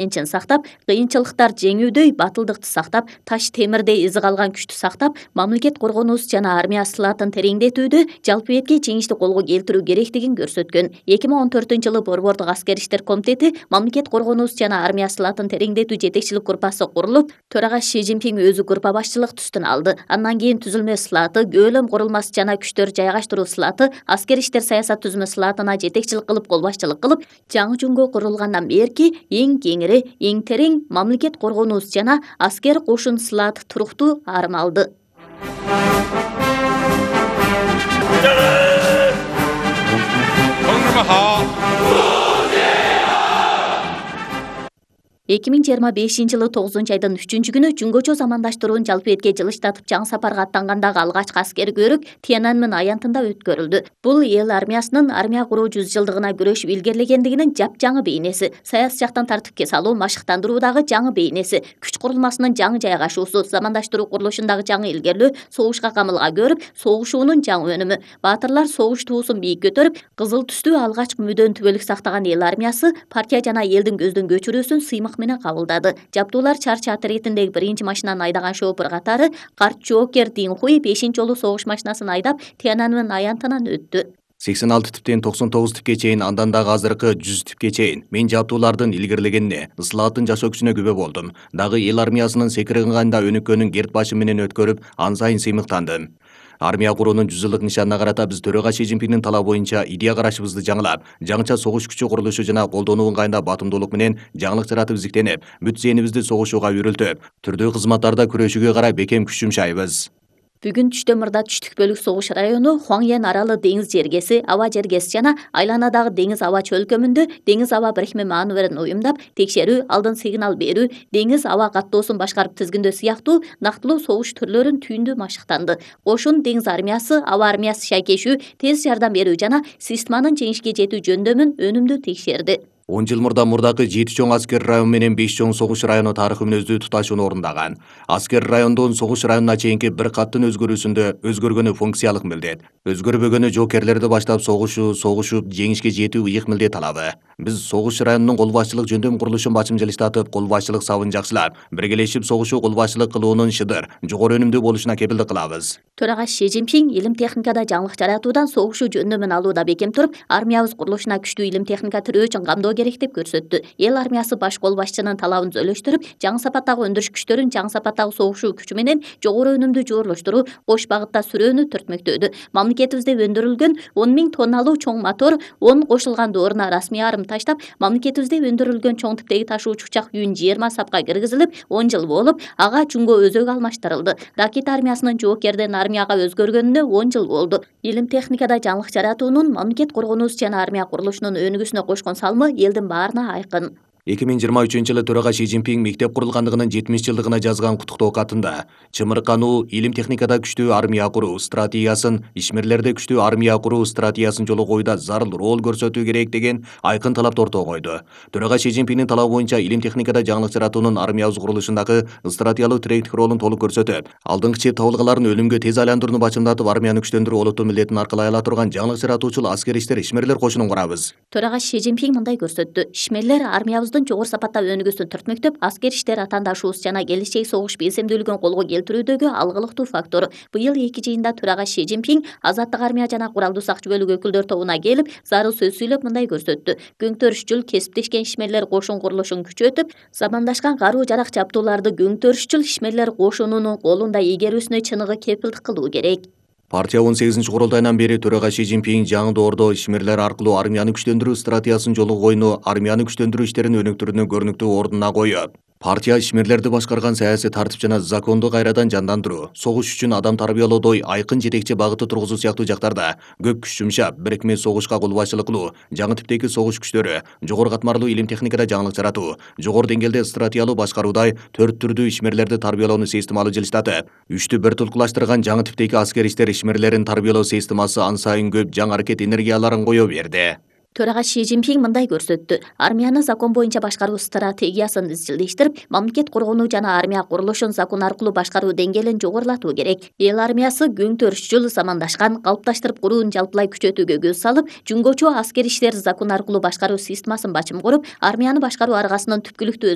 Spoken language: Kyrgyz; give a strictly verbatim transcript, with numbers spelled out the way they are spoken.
энчин сактап, кыйынчылыктар жеңүүдөй батылдыкты сактап, таш темирдей изи калган күчтү сактап, мамлекет коргонуус жана армия сылаатын тереңдетүүдө жалпы этке жеңишти колго келтирүү керектигин көрсөткөн. эки миң он төртүнчү жылы Борбордук аскер иштер комитети мамлекет коргонуус жана армия сылаатын тереңдетүү жетекчилик группасы курулуп, төрага Си Цзиньпин өзү группа башчылыктын үстүн алды. Андан кийин түзүлмө сылааты, көөлөм курулмасы жана күчтөр жайгаштыруу сылааты, аскер иштер саясат түзмө сылаатына жетекчилик кылып, кол башчылык кылып, жаңы жөнгө курулгандан берки эң кеңири, эң терең мамлекет коргонуус жана аскер кошун сылаат туруктуу арым алды. эки миң жыйырма бешинчи жылы тогузунчу айдын үчүнчү күнү Жүнгөчө замандаштырууну жалпы этке жылыштатып жаңы сапарга аттангандагы алгачкы аскер көрүк Тяньаньмэн аянтында өткөрүлдү. Бул эл армиясынын армия куруу жүз жылдыгына күрөшүп илгерилегендигинин жапжаңы бейнеси, саясий жактан тартипке салуу, машыктандыруудагы жаңы бейнеси, күч курулмасынын жаңы жайгашуусу, замандаштыруу курулушундагы жаңы илгерлөө, согушка камылга көрүп, согушуунун жаңы өнүмү. Баатырлар согуш туусун бийик көтөрүп, кызыл түстүү алгачкы мүдөөн түбөлүк сактаган эл армиясы партия жана элдин көздөн көчүрүүсүн сыймык менен кабылдады. Жабдуулар чарчы отрядындагы биринчи машинаны айдаган шофер катары карт жоокер Дин Хуй бешинчи жолу согуш машинасын айдап Тяньаньмэн аянтынан өттү. сексен алты типтен токсон тогуз типке чейин, андан дагы азыркы жүз типке чейин мен жабдуулардын илгерилегенине, ысылааттын жашоо күчүнө күбө болдум. Дагы эл армиясынын секирганда өнүккөнүн керт башы менен өткөрүп, ан сайын сыймыктандым. Армия куруунун жүз жылдык нишанына карата биз төрага Си Цзиньпиндин талабы боюнча идея карашыбызды жаңылап, жаңыча согуш күчү курулушу жана колдонуу ыңгайында батымдуулук менен жаңылык жаратып изиктенип, бүт зээнибизди согушууга үрүлтүп, түрдүү кызматтарда күрөшүүгө карай бекем күч жумшайбыз. Бүгүн түштө мурда түштүк бөлүк согуш району, Хуаңьян аралы деңиз жергеси, аба жергеси жана айланадагы деңиз аба чөлкөмүндө деңиз аба бирикме маневрин уюмдап, текшерүү, алдын сигнал берүү, деңиз аба каттоосун башкарып тизгиндөө сыяктуу нактылуу согуш түрлөрүн түйүндүү машыктанды. Кошун деңиз армиясы, аба армиясы шайкешүү, тез жардам берүү жана системанын жеңишке жетүү жөндөмүн өнүмдүү текшерди. он жыл мурда мурдакы жети чоң аскер район менен беш чоң согуш району тарыхы мүнөздүү туташууну орундаган. Аскер райондон согуш районуна чейинки бир каттын өзгөрүүсүндө өзгөргөнү функциялык милдет, өзгөрбөгөнү жоокерлерди баштап согушуу, согушуп жеңишке жетүү ыйык милдет алабы. Биз согуш районунун кол башчылык жөндөм курулушун бачым жылыштатып, кол башчылык сабын жакшылап, биргелешип согушуу кол башчылык кылуунун шыдыр, жогору өнүмдүү болушуна кепилдик кылабыз. Төрага Си Цзиньпин илим техникада жаңылык жаратуудан согушуу жөндөмүн алууда бекем туруп, армиябыз курулушуна күчтүү илим техника тирөө үчүн камдоо керек деп көрсөттү. Эл армиясы баш кол башчынын талабын зөөлөштүрүп, жаңы сапаттагы өндүрүш күчтөрүн жаңы сапаттагы согушуу күчү менен жогору өнүмдүү жooрлоштуруу, кош багытта сүрөөнү төртмөктөдү. Мамлекетибизде өндүрүлгөн он миң тонналуу чоң мотор он кошулган дооруна расмий арым таштап, мамлекетибизде өндүрүлгөн чоң типтеги ташуучу учак Юн жыйырма сапка киргизилип, он жыл болуп, ага Жүнгө өзөк алмаштырылды. Ракета армиясынын жоокерден армияга өзгөргөнүнө он жыл болду. Илим техникада жаңылык жаратуунун мамлекет коргонуус жана армия курулушунун өнүгүүсүнө кошкон салымы элдин баарына айкын. эки миң жыйырма үчүнчү жылы төрага Си Цзиньпин мектеп курулгандыгынын жетимиш жылдыгына жазган куттуктоо катында чымыркануу, илим техникада күчтүү армия куруу стратегиясын, ишмерлерде күчтүү армия куруу стратегиясын жолго коюуда зарыл роль көрсөтүү керек деген айкын талапты ортого койду. Төрага Си Цзиньпиндин талабы боюнча илим техникада жаңылык жаратуунун армиябыз курулушундагы стратегиялык тиректик ролун толук көрсөтүп, алдыңкы чеп табылгаларын өлүмгө тез айландырууну бачымдатып, армияны күчтөндүрүү олуттуу милдетин аркалай ала турган жаңылык жаратуучул аскер иштер ишмерлер кошунун курабыз. Төрага Си Цзиньпин мындай көрсөттү. Ишмерлер армиябыздын жогору сапатта өнүгүүсүн төртмөктөп, аскер иштер атаандашуубуз жана келечек согуш белсемдүүлүгүн колго келтирүүдөгү алгылыктуу фактор. Быйыл эки жыйында төрага Си Цзиньпин азаттык армия жана куралдуу сакчы бөлүк өкүлдөр тобуна келип, зарыл сөз сүйлөп мындай көрсөттү. Көңтөрүшчүл кесиптешкен ишмерлер кошун курулушун күчөтүп, замандашкан каруу жарак жабдууларды көңтөрүшчүл ишмерлер кошунунун колунда ийгерүүсүнө чыныгы кепилдик кылуу керек. Партия он сегизинчи курултайынан бери төрага Си Цзиньпин жаңы доордо ишмерлер аркылуу армияны күчтөндүрүү стратегиясын жолго койууну, армияны күчтөндүрүү иштерин өнүктүрүүнү көрүнүктүү ордуна коюп, партия ишмерлерди башкарган саясий тартип жана законду кайрадан жандандыруу, согуш үчүн адам тарбиялоодой айкын жетекчи багыты тургузуу сыяктуу жактарда көп күч жумшап, бирикме согушка кол башчылык кылуу, жаңы типтеги согуш күчтөрү, жогору катмарлуу илим техникада жаңылык жаратуу, жогору деңгээлде стратегиялуу башкаруудай төрт түрдүү ишмерлерди тарбиялоону системалуу жылыштатып, үчтү бир туткулаштырган жаңы типтеги аскер иштер ишмерлерин тарбиялоо системасы ан сайын көп жаңы аракет энергияларын кое берди. Төрага Си Цзиньпин мындай көрсөттү. Армияны закон боюнча башкаруу стратегиясын изчилдештирип, мамлекет коргонуу жана армия курулушун закон аркылуу башкаруу деңгээлин жогорулатуу керек. Эл армиясы көңтөрүшчүл, замандашкан, калыпташтырып курууну жалпылай күчөтүүгө көз салып, Жүнгөчө аскер иштер закон аркылуу башкаруу системасын бачым куруп, армияны башкаруу аргасынын түпкүлүктүү